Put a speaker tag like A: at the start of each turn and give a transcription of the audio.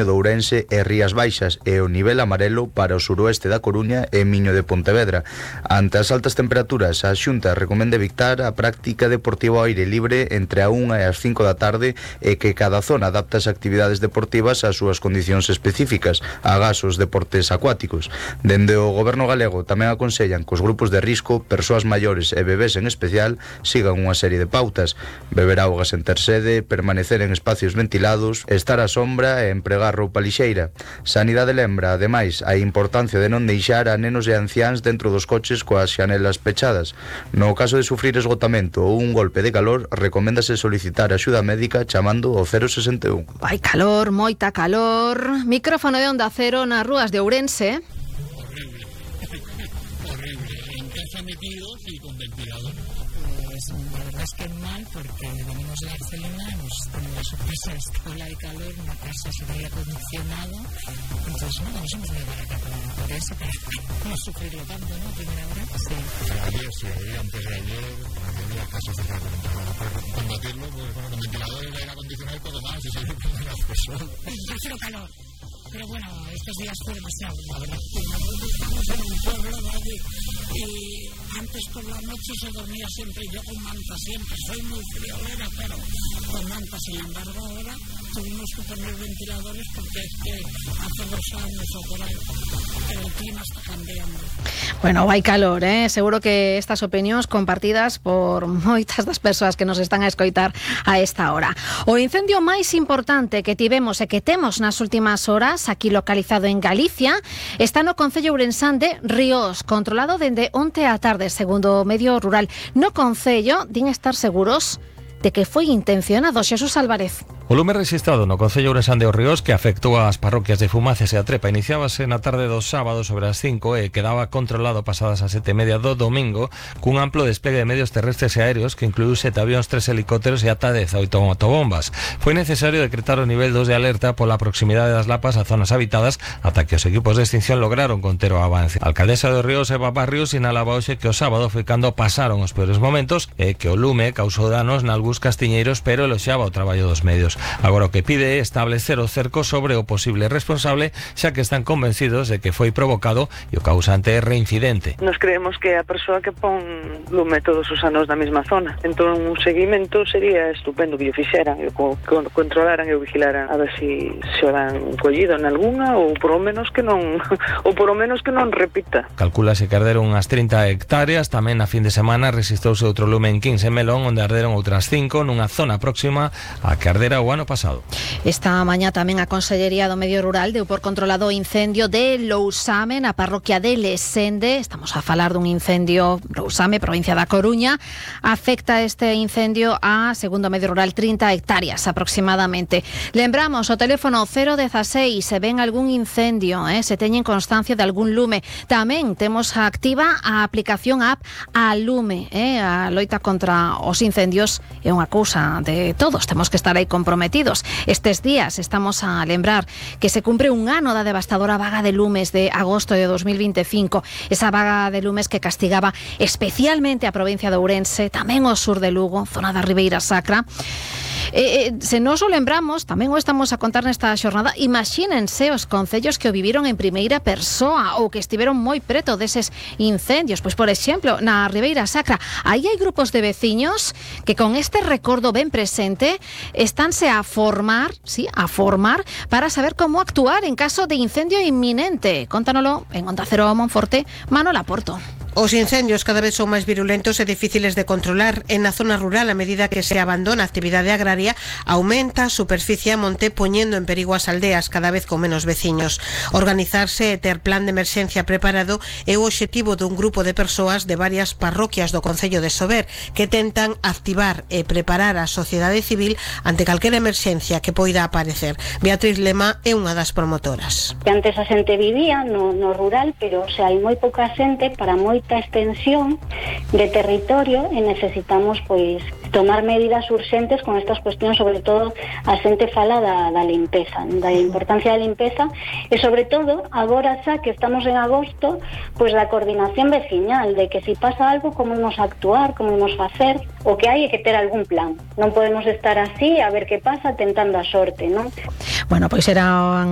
A: de Ourense e Rías Baixas e o nivel amarelo para o suroeste da Coruña e Miño de Pontevedra. Ante as altas temperaturas, a Xunta recomenda evitar a práctica deportiva ao aire libre entre a 1 e as 5 da tarde e que cada zona adapte as actividades deportivas ás súas condicións específicas, agás os deportes acuáticos. Dende o Goberno galego tamén aconsellan que os grupos de risco, persoas maiores e bebés en especial, sigan unha serie de pautas: beber auga sen ter sede, permanecer en espacios ventilados, estar á sombra e empregar roupa lixeira. Sanidade lembra, ademais, a importancia de non deixar a nenos e anciáns dentro dos coches coas xanelas pechadas. No caso de sufrir esgotamento ou un golpe de calor, recoméndase solicitar axuda médica chamando ao 061.
B: Hai calor, moita calor. Micrófono de Onda Cero nas rúas de Ourense.
C: Horrible. En casa metidos y con ventilador. Pues la verdad es que mal, porque venimos de Barcelona, hemos tenido la sorpresa de esta ola de calor, una casa sin aire acondicionado, entonces no, nos hemos venido para acá por eso, para no sufrirlo tanto, ¿no? Primera hora. Sí. Ayer, antes de ayer, había casos de calor, para combatirlo, pues bueno, con ventiladores, aire acondicionado y todo más, y seguir con las personas. Yo quiero calor. Pero bueno, estos días fue demasiado, la verdad. Estamos en un pueblo, ¿vale? Y antes por la noche se dormía siempre, yo con manta siempre, soy muy friolera, pero con manta. Sin embargo, ahora tuvimos que poner ventiladores porque es que hace 2 años o por ahí, pero el clima está cambiando.
B: Bueno, hai calor, seguro que estas opinións compartidas por moitas das persoas que nos están a escoitar a esta hora. O incendio máis importante que tivemos e que temos nas últimas horas, aquí localizado en Galicia, está no concello ourensán de Ríos, controlado dende onte á tarde, segundo o medio rural. No concello din estar seguros de que foi intencionado. Xesús Álvarez.
D: O lume registrado no concello ourensán de Os Ríos, que afectou ás parroquias de Fumaces e a Trepa, iniciábase na tarde do sábado sobre as 5 e quedaba controlado pasadas as 7:30 do domingo, cun amplo despegue de medios terrestres e aéreos que incluiu 7 avións, 3 helicópteros e ata 18 motobombas. Foi necesario decretar o nivel 2 de alerta pola proximidade das lapas a zonas habitadas ata que os equipos de extinción lograron conter o avance. A alcaldesa de Os Ríos, Eva Barrios, sinalaba hoxe que o sábado foi cando pasaron os peores momentos e que o lume causou danos nalgúns castiñeiros, pero eloxaba o traballo dos medios. Agora o que pide é establecer o cerco sobre o posible responsable, xa que están convencidos de que foi provocado e o causante é reincidente.
E: Nos creemos que a persoa que pon lume todos os anos na mesma zona. Entón un seguimento sería estupendo que o fixeran, e controlaran e o vigilaran a ver se o dan collido en algunha ou por lo menos que non repita.
D: Calculase que arderon unhas 30 hectáreas. Tamén a fin de semana registrouse outro lume en 15 Melón, onde arderon outras 5 nunha zona próxima a que ardera o ano pasado.
B: Esta mañá tamén a Consellería do Medio Rural deu por controlado o incendio de Lousame na parroquia de Lesende. Estamos a falar dun incendio Lousame, provincia da Coruña. Afecta este incendio a, segundo Medio Rural, 30 hectáreas aproximadamente. Lembramos o teléfono 016 se ven algún incendio, se teñen constancia de algún lume. Tamén temos activa a aplicación app a Lume, a loita contra os incendios é unha cousa de todos, temos que estar aí comprometidos. Estes días estamos a lembrar que se cumpre un ano da devastadora vaga de lumes de agosto de 2025, esa vaga de lumes que castigaba especialmente a provincia de Ourense, tamén o sur de Lugo, zona da Ribeira Sacra. Se nos o lembramos, tamén o estamos a contar nesta xornada, imagínense os concellos que o viviron en primeira persoa ou que estiveron moi preto deses incendios. Pois, por exemplo, na Ribeira Sacra, aí hai grupos de veciños que con este recordo ben presente estánse a formar para saber como actuar en caso de incendio inminente. Contánoslo en Onda Cero Monforte, Manuela Porto.
F: Os incendios cada vez son máis virulentos e difíciles de controlar. En a zona rural, a medida que se abandona a actividade agraria, aumenta a superficie a monte, poñendo en perigo as aldeas cada vez con menos veciños. Organizarse e ter plan de emerxencia preparado é o obxectivo dun grupo de persoas de varias parroquias do concello de Sober que tentan activar e preparar a sociedade civil ante calquera emerxencia que poida aparecer. Beatriz Lema é unha das promotoras.
G: Antes a xente vivía no rural, pero hai moi pouca xente para moi moita extensión de territorio e necesitamos pois tomar medidas urxentes con estas cuestións, sobre todo a xente fala da limpeza, da importancia da limpeza e sobre todo agora xa que estamos en agosto, pois da coordinación veciñal, de que se pasa algo como imos actuar, como imos facer, o que hai é que ter algún plan. Non podemos estar así a ver que pasa tentando a sorte, non?
B: Bueno, pois eran